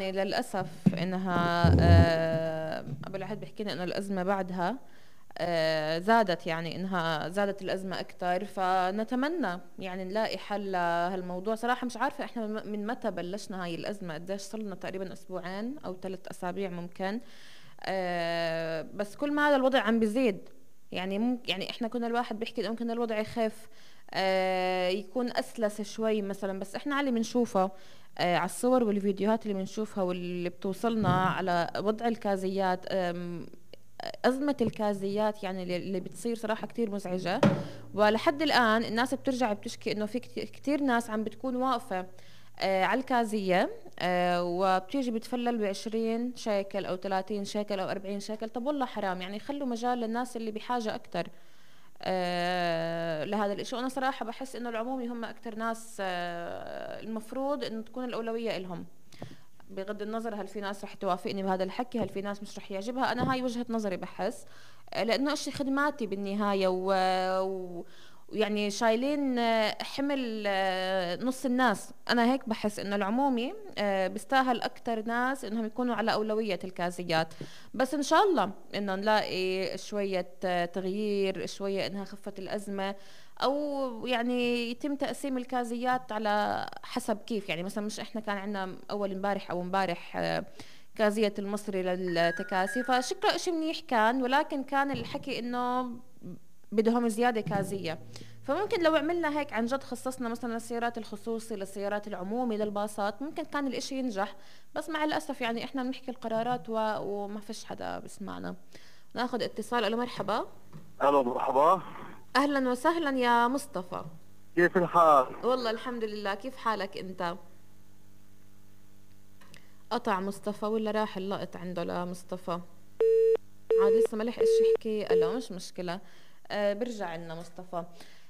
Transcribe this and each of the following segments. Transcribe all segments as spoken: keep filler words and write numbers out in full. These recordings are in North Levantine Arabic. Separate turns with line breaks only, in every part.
يعني للأسف إنها آه، أبو العهد بيحكي لنا إنه الأزمة بعدها آه، زادت، يعني إنها زادت الأزمة أكتر. فنتمنى يعني نلاقي حل لهالموضوع. صراحة مش عارفة إحنا من من متى بلشنا هاي الأزمة، قديش صلنا؟ تقريبا أسبوعين أو ثلاث أسابيع ممكن. آه، بس كل ما هذا الوضع عم بيزيد. يعني ممكن يعني إحنا كنا الواحد بيحكي إنه ممكن الوضع يخف، آه، يكون أسلس شوي مثلا، بس إحنا على اللي بنشوفه آه، على الصور والفيديوهات اللي بنشوفها واللي بتوصلنا على وضع الكازيات، آم، أزمة الكازيات يعني اللي اللي بتصير صراحة كتير مزعجة. ولحد الآن الناس بترجع بتشكي إنه في كت- كتير ناس عم بتكون واقفة آه على الكازية، آه وبتيجي بتفلل بعشرين شيكل أو ثلاثين شيكل أو أربعين شيكل. طب والله حرام، يعني خلوا مجال للناس اللي بحاجة أكتر آه لهذا الإشي. وأنا صراحة بحس إنه العمومي هم أكتر ناس آه المفروض إنه تكون الأولوية إلهم، بغض النظر هل في ناس رح توافقني بهذا الحكي، هل في ناس مش رح يعجبها. انا هاي وجهة نظري بحس، آه، لانه اشي خدماتي بالنهاية و... و... ويعني شايلين آه، حمل آه، نص الناس. انا هيك بحس انه العمومي آه، بيستاهل اكتر ناس انهم يكونوا على اولوية الكازيات. بس ان شاء الله انه نلاقي شوية آه، تغيير، شوية انها خفت الازمة، او يعني يتم تقسيم الكازيات على حسب كيف. يعني مثلا مش احنا كان عندنا اول امبارح او امبارح آه، كازية المصري للتكاسي، فشكله اشي منيح كان، ولكن كان الحكي انه بدهم زيادة كازية. فممكن لو عملنا هيك عن جد، خصصنا مثلا للسيارات الخصوصي، للسيارات العمومي، للباصات، ممكن كان الاشي ينجح. بس مع الأسف يعني احنا بنحكي القرارات و... وما فيش حدا بسمعنا. ناخذ اتصال. الو مرحبا.
الو مرحبا.
اهلا وسهلا يا مصطفى.
كيف الحال؟
والله الحمد لله، كيف حالك انت؟ قطع مصطفى ولا راح اللقط عنده لمصطفى؟ عاد لسه ما لحقش يحكي. لا مش مشكلة، آه برجع لنا مصطفى.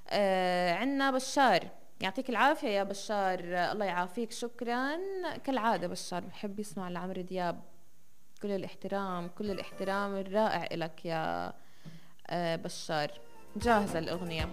آه عنا بشار. يعطيك العافية يا بشار. آه الله يعافيك، شكرا. كالعادة بشار بحب يسمع لعمرو دياب. كل الاحترام، كل الاحترام الرائع إلك يا آه بشار. جاهزة الأغنية.